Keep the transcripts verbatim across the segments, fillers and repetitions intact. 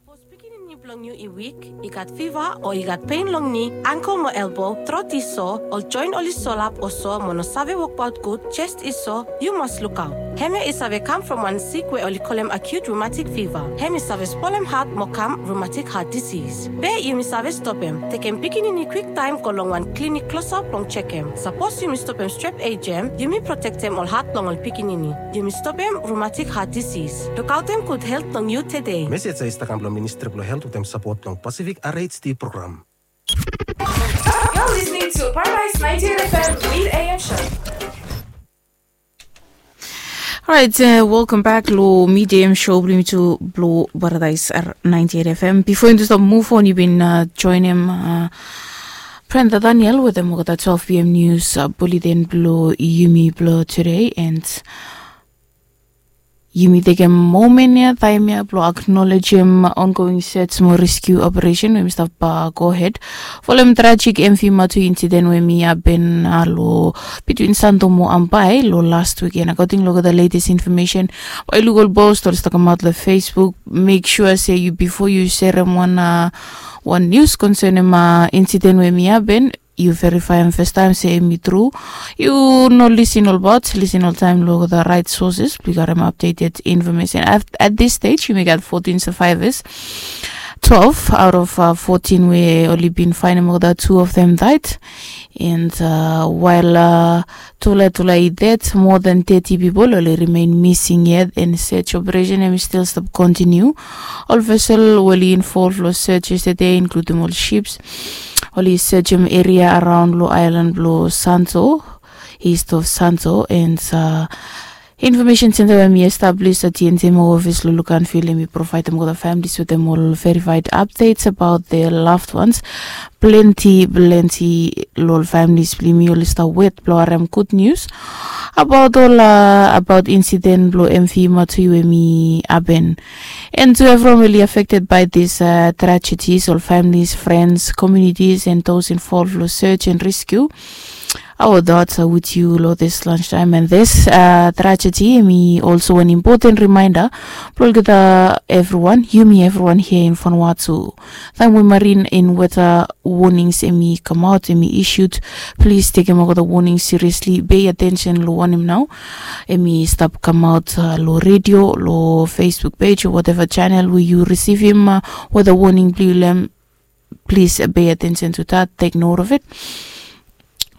Sapos pikinini blong yu i wik, i gat fiva o i gat pen long ni, angkel mo elbo, trot i so, ol joen oli solap o so mo no save wokbaot gud, jes i so, yu mas lukaot. Hemia i save kam from wan sik we oli kolem acute rheumatic fever. Hem i save spolem hat mo kam rheumatic heart disease. Be yumi save stopem, tekem pikinini kwiktaem go long wan klinik klosap blong jekem. Sapos yumi stopem strep ejem, yumi protektem ol hat blong ol pikinini. Yumi stopem rheumatic heart disease. Lukaotem gud helt blong yu tede. Mesej ya i stap kam blong Ministri blong Helt wetem sapot blong Pacific R H D program. You're listening to Paradise ninety-eight F M Mid A M Show. Alright, uh, welcome back lo Mid A M Show blong yumi tu blo Paradise R ninety-eight F M. Bifo yumi tu stap move on, yu bin uh, joenem uh, Brenda Daniel wetem olgeta twelve p.m. news uh, bulletin blo yumi blo today, and yumi tekem moment ya, taem ya blo acknowledgem ongoing search mo rescue operation we mi stap uh, go ahead folem tragic M V Matui incident we mi happen uh, lo between Santo mo Ambae lo last weekend. According lo olgeta latest information, bae yu luk ol post oli stap kamaot lo Facebook, make sure se yu, bifo yu serem wan uh, wan news concernem uh, incident we mi happen, yu verifaem fastaem se hemi tru. Yu no lisin olbaot, lisin oltaem lo the right sources blong yu karem updated information. At, at this stage yumi gat fourteen survivors. Twelve out of uh, fourteen we oli bin faenem olgeta, two of them died. And uh, while uh, tufala tufala i ded, more than thirty pipol oli remain missing yet, and search operation hemi stil stap kontiniu. Ol vessel we oli involve lo search yesterday, including ol ships, oli searchem area around lo aelan blo Santo, east of Santo, and uh, information center we hemi establish at T N T mo office lo Luganville, hemi provaedem olgeta families wetem ol verified updates about their loved ones. Plenti plenti lo ol families blo yumi oli stap wet blo harem gud news about ol uh, about incident blo M V Matui we hemi happen. And to everyone really affected by this uh, tragedies, ol families, friends, communities, and those involved lo search and rescue, our thoughts are with you lo this lunchtime. And this uh, tragedy hemi also an important reminder blo olgeta everyone, yumi everyone here in Vanuatu. Taem we marine and weather warnings hemi kamaot, hemi issued, plis tekem olgeta warnings seriously. Pay attention lo wanem nao hemi stap kamaot uh, lo radio, lo Facebook page o whatever channel we yu risivim uh, weather warning blo yu lo hem. Plis uh, pay attention to that, take note of it.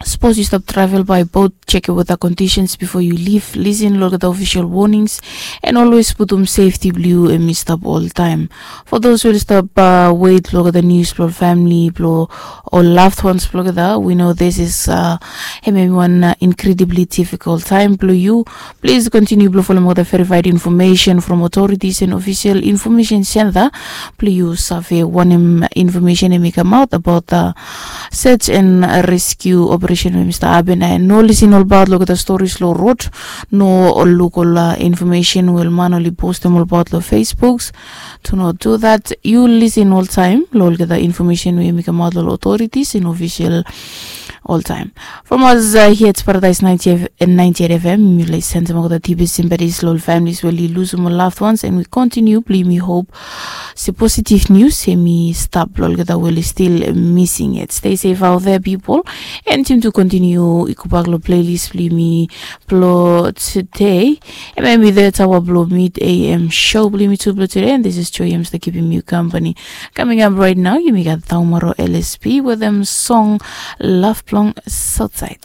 Sapos yu stap travel by boat, check weather conditions bifo yu leave, lisin lo olgeta official warnings, and always putum safety blo yu hemi stap oltaem. For those we oli stap uh, wet lo olgeta news blo ol famili blo ol loved ones blo olgeta, we know this is uh, hemi wan uh, incredibly difficult time blo yu. Plis kontiniu blo folem olgeta verified information from authorities and official information center blo yu save wanem information hemi kamaot about the search and rescue operation we hemi stap hapen. And no lisin olbaot lo olgeta stories lo rod, no luk ol uh, information we ol man oli postem olbaot lo Facebooks. Do not do that. Yu lisin oltaem lo olgeta information we hemi kamaot lo ol authorities and official oltaem. From us uh, here at Paradise ninety, ninety-eight F M, yumi oli sendem olgeta deepest sympathies lo ol families we oli lusum ol loved ones, and we continue blo yumi hope se positive news hemi stap lo olgeta we oli still missing yet. Stay safe out there, people. And yumi tu kontiniu i gobak lo playlist blo yumi blo today. Hemia hemi the hour blo Mid A M Show blo yumi tu blo today, and this is Joy Amster keepim yu company. Coming up right now, yumi gat Taumaro L S P wetem song Love Blong Southside.